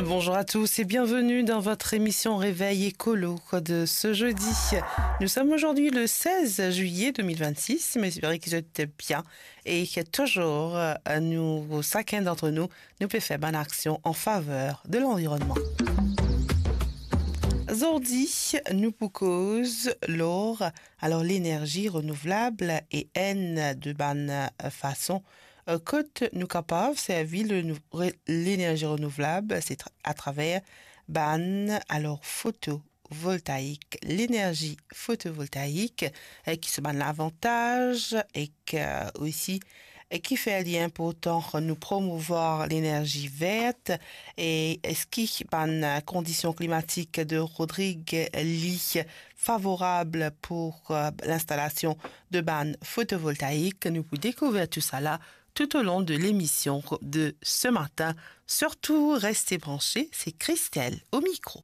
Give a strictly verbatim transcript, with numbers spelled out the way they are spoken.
Bonjour à tous et bienvenue dans votre émission Réveil Écolo de ce jeudi. Nous sommes aujourd'hui le seize juillet deux mille vingt-six, mais espérons que vous êtes bien et que toujours, euh, nous, chacun d'entre nous, nous peut faire bonne action en faveur de l'environnement. Zordi, nou pou koz lor, alor, lenerzi renouvlab e enn de bann, euh, fason, euh, kot nou kapav servi le nou-, re-, lenerzi renouvlab, se tra-, atraver bann, alor, fotovoltaik, lenerzi fotovoltaik, euh, ki so bann lavantaz ek, euh, osi, euh, kifer li inportan nou promouvwar lenerzi vert e eski bann kondision klimatik de Rodrig li favorab pou, euh, linstalasion de bann fotovoltaik. Nou pou dekouver tou sala tout au long de l'émission de ce matin. Surtout, restez branchés, c'est Christelle au micro.